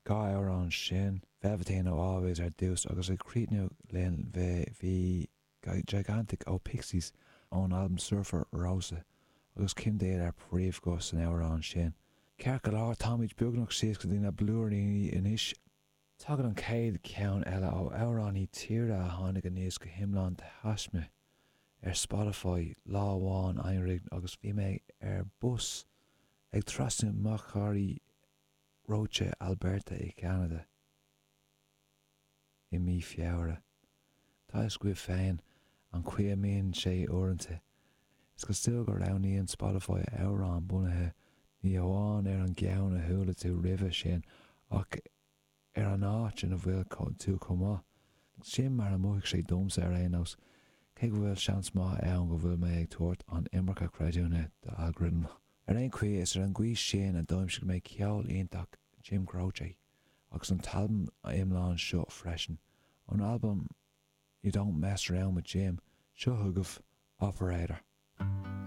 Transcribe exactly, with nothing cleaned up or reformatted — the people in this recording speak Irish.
Dhá amhrán sin, Velveteen ó Always ar dtús agus ag críochnú linn bhí Gigantic ó Pixies ón albam Surfer Rosa agus Kim Deal ar príomhghuth san amhrán sin. Ceart go leor, táimid beagnach síos go dtí na blúiríní anois. Tagann an chéad cheann eile ó amhránaí tíre a tháinig aníos go hiomlán de thaisme ar Spotify lá amháin anuraidh agus bhí mé ar bus ag trasnú machairí reoite Alberta i gCeanada i mí Feabhra. Tá a fhios agaibh féin an chaoi a mbíonn sé uaireanta. Is cosúil go roghnaíonn Spotify amhrán bunaithe ní hamháin ar an gceann a chuala tú roimhe sin ach ar an áit ina bhfuil tú chomh maith. Sin mar a mhothaigh sé domsa ar aon nós, cé go bhfuil seans maith ann go bhfuil mé ag tabhairt an iomarca creidiúna d'algorithm. Ar aon chaoi, is ar an gcaoi sin a d'aimsigh mé ceol iontach Jim Croce agus an t-albam iomlán seo freisin. Ón albam You Don't Mess Around With Jim, seo chugaibh Operator.